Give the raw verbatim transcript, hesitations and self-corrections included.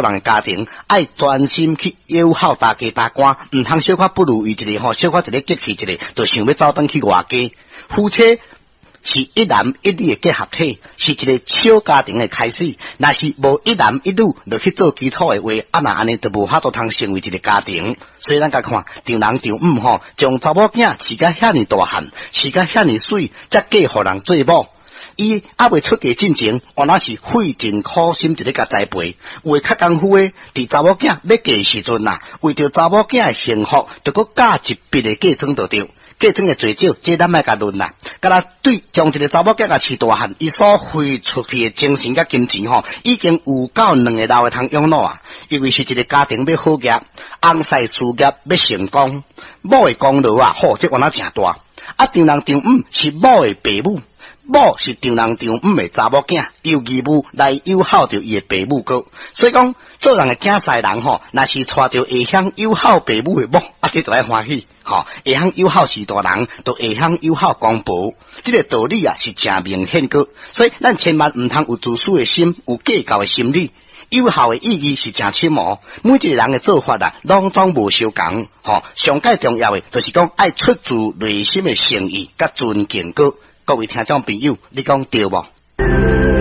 人的家庭，愛專心去友好大家大官，毋通小可不如意一下吼，小可一个激氣一下，就想欲走轉去外家。夫妻是一男一女的結合體，是一個小家庭的開始。若是無一男一女落去做基礎的話，啊若按呢就無法度通成為一個家庭。所以咱共看丈人丈母吼，將查某囝飼甲遐爾大漢，飼甲遐爾媠，才嫁予人做某。伊猶未出嫁進前，原來是費盡苦心佇咧共栽培。有的較功夫的，佇查某囝欲嫁的時陣啊，為著查某囝的幸福，就閣加一筆的嫁妝就對。嫁妝的濟少，這咱莫共論啦。敢若對將一個查某囝共飼大漢，伊所付出去的精神佮金錢吼，已經有夠兩个老的通養老啊。因為是一個家庭欲好額，翁婿事業欲成功，某的功勞啊，吼，這原來誠大。啊，丈人丈母是某的爸母，某是丈人丈母的查某囝，有義務來友好著伊的爸母閣。所以講，做人的囝婿人吼，若是娶著會曉友好爸母的某，啊，這就愛歡喜。吼，會曉友好序大人，就會曉友好公婆，這個道理啊是誠明顯閣。所以咱千萬毋通有自私的心，有計較的心理。友好的意義是誠深哦，每一個人的做法啊，攏總無相仝。吼，上蓋重要的就是講愛出自內心的誠意佮尊敬閣。各位聽眾朋友，你講對無？